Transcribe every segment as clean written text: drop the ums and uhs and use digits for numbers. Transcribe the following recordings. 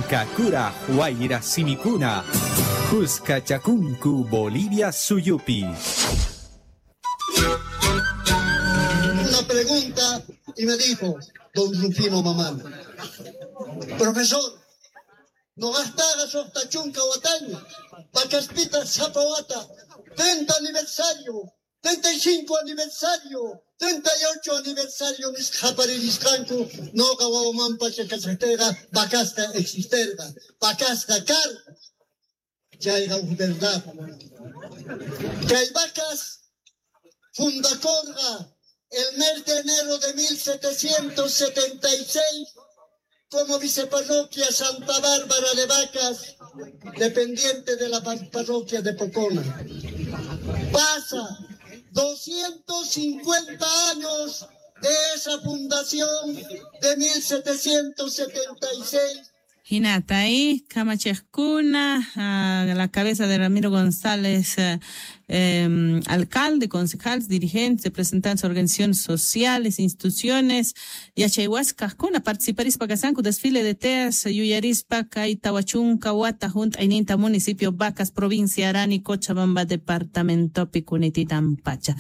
Inka Kuraj Wayra Simikuna, Kuskachakunku Bolivia Suyupi. Una pregunta y me dijo don Rufino Mamán: profesor, no gastaga soqta chunka wataña, Vacaspita sapa wata, 30 aniversario, 35 aniversario, 38 aniversario nisqaparirisqanku, noqa wawamanpa chakachaqtayqa Vacasqa existerqa, Vacasqa karqa. Chayqa uj verdad. Chay Vacas fundakorqa el mes de enero de 1776 como viceparroquia Santa Bárbara de Vacas, dependiente de la parroquia de Pocona. Pasa 250 años de esa fundación de 1776. Hinata ahí, Kamachejkuna, a la cabeza de Ramiro González, alcalde, concejales, dirigentes, representantes de organizaciones sociales, instituciones, yachayhuascajkuna, participarispa kasanku, desfile de teas, yuyarispa, kay tawachunka wata hunt'ayninta municipio Vacas, provincia Arani, Cochabamba, departamento Picunititan Pacha.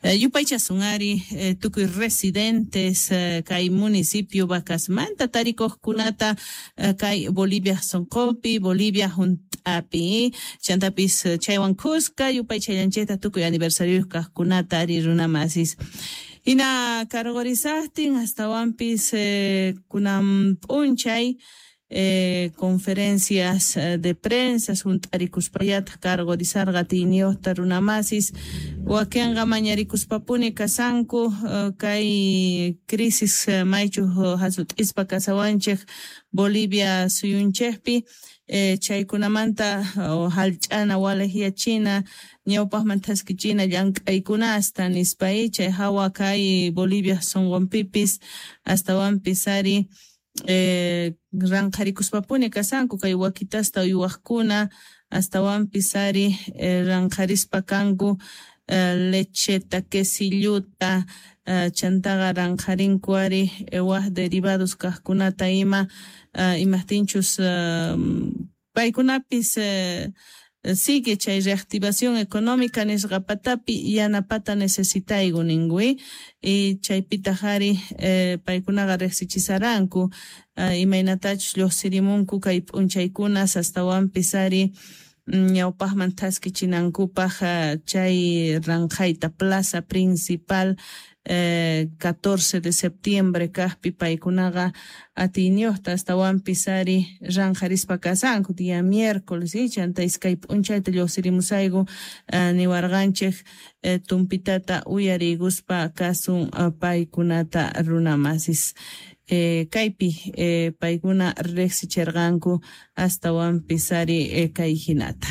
Yupaychasun ari, tukuy residentes, kay municipio Vacasmanta, tarikuqkunata, kay Bolivia sonqopi, Bolivia hunt'api, chantapis chaywan kuska, yupaychallanchikta tukuy aniversario kaqkunata ari runamasis. Hina karqurisaqtin astawanpis kunan p'unchay conferencias de prensa hunt'arikuspallataq karqurisarqa atiyniyuqta runamasis, wakinqa mañarikuspapuni kasanku kay crisis maychuq hasut'ispa kasawanchik Bolivia suyunchikpi, chaykunamanta hallch'ana walejyachina ñawpaqman thaskichina llank'aykunasta nispa chay hawa kay Bolivia sunqunpipis astawanpis ari ranqharikuspapuni kasanku kay wakitasta uywaqkuna astawanpis ari ranqharispa kanku lecheta, quesilluta, chantaqa ranqharinku ari waj derivados kaqkunata ima, imajtinchus paykunapis sigue chay reactivación económica nisqa patapi yanapata necesitayku ninku y chaypitaq ari paykunaqa riqsichisaranku imaynatachus lluqsirimunku kay p'unchaykunas astawanpis ari ñawpaqman thaskichinankupaq chay ranqhayta plaza principal 14 de septiembre kaqpi paykunaqa atiyniyuqta astawanpis ari ranqharispa kasanku día miércoles chanta iskay p'unchayta lluqsirimusayku niwarqanchik tumpitata uyariykuspa kasun paykunata runamasis. Kaypi paykuna riqsichirqanku astawanpis ari kay hinata.